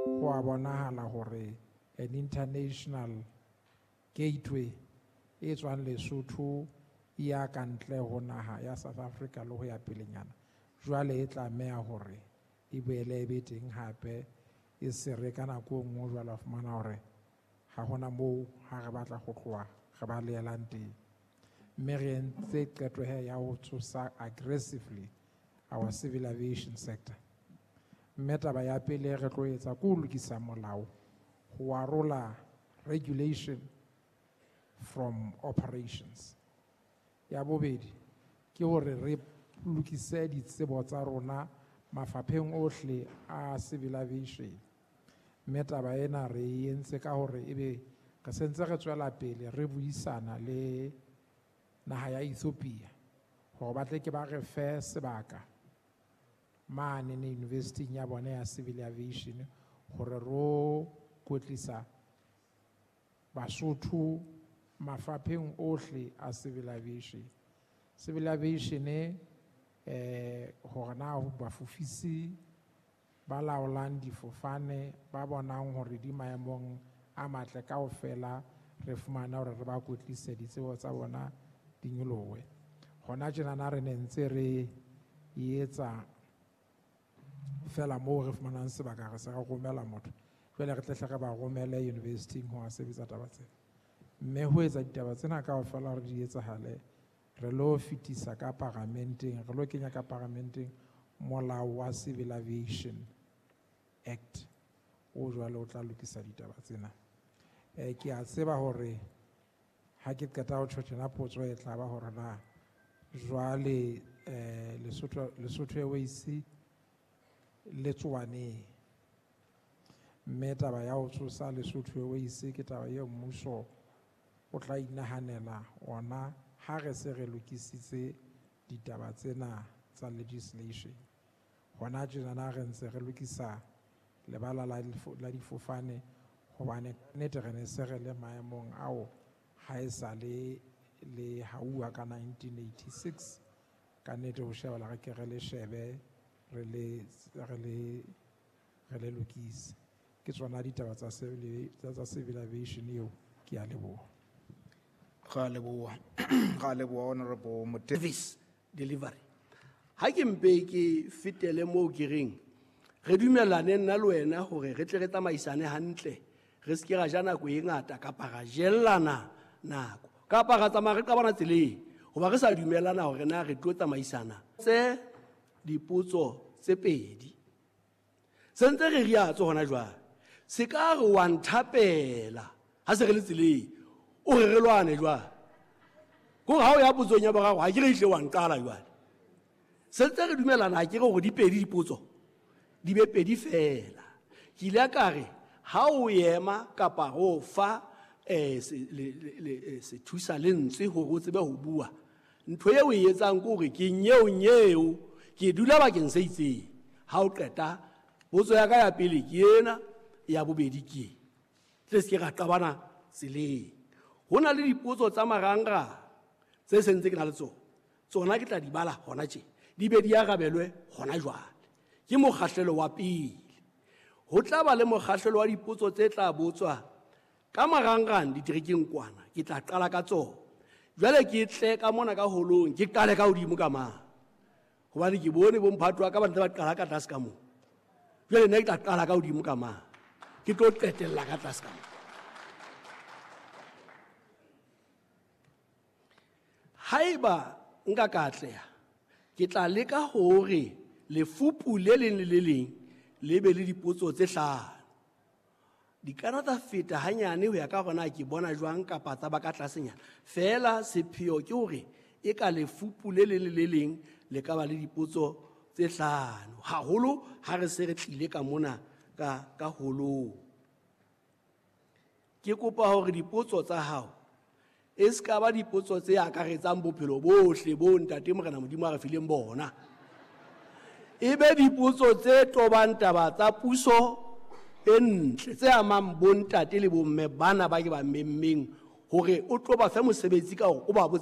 Ho a bonahala hore an international gateway e tswang Lesotho e ya ka ntle ho naha ya South Africa le ho ya pelenyana jwale e tlameha hore e boele e be teng hape, e se re ka nako e nngwe jwale wa fumana hore ha hona moo ha re batla ho tloha re ba leelang teng. Mme re entse qeto he ya ho tsosa aggressively our civil aviation sector. Mme taba ya pele re tlo etsa ke ho lokisa molao ho arola regulation from operations. Ya bobedi ke hore re lokise ditsebo tsa rona mafapheng ohle a civil aviation. Mme taba ena re e entse ka hore ebe re sentse re tswela pele re buisana le naha ya Ethiopia hore ba tle ke ba re fe sebaka mane ne university ya bona ya civil aviation hore ro kwetlisa Basotho mafapheng ohle a civil aviation. Civil aviation hore na bafofisi ba laolang difofane ba bonang hore di maemong a matle kaofela re fumana hore re ba kwetlise ditsebo tsa bona di nyolohe. Hona tjenana re ne ntse re etsa fela moo re fumanang sebaka re se re romela motho, jwale re tle hle re ba romele university-ing ho a sebetsa taba tsena. Mme ho etsa ditaba tsena kaofela hore di etsahale, re lo fetisa ka paramenteng, re lo kenya ka paramenteng molao wa Civil Aviation Act o jwale o tla lokisa ditaba tsena. Ke a tseba hore ha ke qeta ho tjho tjena potso e tla ba hore na jwale Lesotho Airways le tsoa neng. Mme taba ya ho tsosa Lesotho Airways ke taba eo mmuso o tla inahanela ona ha re se re lokisitse ditaba tsena tsa legislation. Hona tjenana re ntse re lokisa lebala la difofane hobane nnete re ne se re le maemong ao ha e sa le le hauwa ka 1986. Ka nnete ho shebala re ke re le shebe re le lokise. Ke tsona ditaba tsa civil aviation eo. Ke a leboha. Ra leboha. Ra leboha Honorable Mote. Service delivery. Ha ke mpe ke fetele moo ke reng re dumellane nna le wena hore re tle re tsamaisane hantle, re se ke ra ja nako e ngata kapa ra jellana nako kapa ra tsamaya re qabana tseleng hoba re sa dumellana hore na re tlo tsamaisana. Tse dipotso tse pedi se ntse re riatso hona jwale, se ka re wa nthapela ha se re le tseleng o re re lwane jwale. Kore ha o ya potsong ya boraro ha ke re ihle wa nqala jwale. Se ntse re dumellana ha ke re hore di pedi dipotso di be pedi fela. Ke ile ka re ha o ema kapa ho fa sethusa lentswe hore o tsebe ho bua, ntho eo o e etsang ke hore ke nyeo nyeo ke dula bakeng se itseng. Ha o qeta potso ya ka ya pele ke ena, ya bobedi ke e. Tle se ke ra qabana tseleng. Ho na le dipotso tsa marangrang tse sentse ke na le tsona, tsona ke tla di bala hona tje, di be di arabelwe hona jwale. Ke mokgahlelo wa pele. Ho tla ba le mokgahlelo wa dipotso tse tla botswa ka marangrang diterekeng kwana, ke tla qala ka tsona. Jwale ke tle ka mona ka holong, ke qale ka hodimo ka mane, hobane ke bone bo mphato wa ka ba ntse ba qala ka tlase ka moo. Jwale nna ke tla qala ka hodimo ka mane, ke tlo qetella ka tlase ka moo. Haeba nka ka atleha, ke tla leka hore lefupu le leng le le leng le be le dipotso tse hlano. Di ka nna tsa feta hanyane ho ya ka hore na ke bona jwang kapa tsa ba ka tlasenyana. Feela sepheo ke hore e ka lefupu le leng le le leng le ka ba le dipotso tse hlano, haholo ha re se re tlile ka mona ka holong. Ke kopa hore dipotso tsa hao e se ka ba dipotso tse akaretsang bophelo bohle bo Ntate Morena Modimo a re fileng bona. E be dipotso tse tobang taba tsa puso e ntle, tse amang bontate le bomme bana ba ke ba memmeng hore o tlo ba fe mosebetsi ka hore o ba botse